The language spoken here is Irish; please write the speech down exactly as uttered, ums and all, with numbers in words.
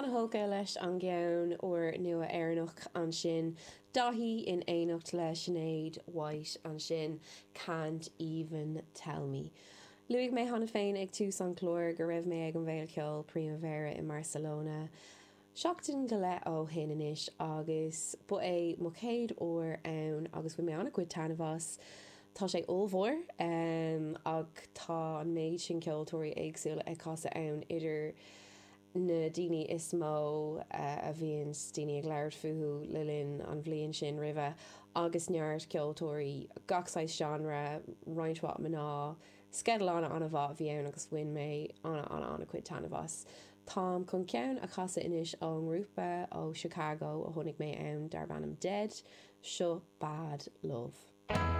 An-tógtha leis an gceann úr nua Éireannach ansin, Daithí in éineacht le Sinéad White ansin, Can't Even Tell Me. Luaigh mé cheana féin ag tús an chláir go raibh mé ag an bhFéile Ceoil Primavera i mBarcelona seachtain go leith ó shin anois agus ba é mo chéad uair ann agus bhain mé an-chuid taitneamh as. Tá sé ollmhór um, ach tá an méid sin ceoltóirí éagsúla ag casadh ann idir na daoine is mó uh, a bhíonn daoine ag labhairt fúthu le linn an bhliain sin roimhe agus neart ceoltóirí gach saghas genre roinnt mhaith mná sceideal an- an-mhaith a bhí ann agus bhain mé an- an- an-chuid taitneamh as. Táim chun ceann a chasadh anois ón ngrúpa ó Chicago a chonaic mé ann darb ainm Dead, seo Bad Love.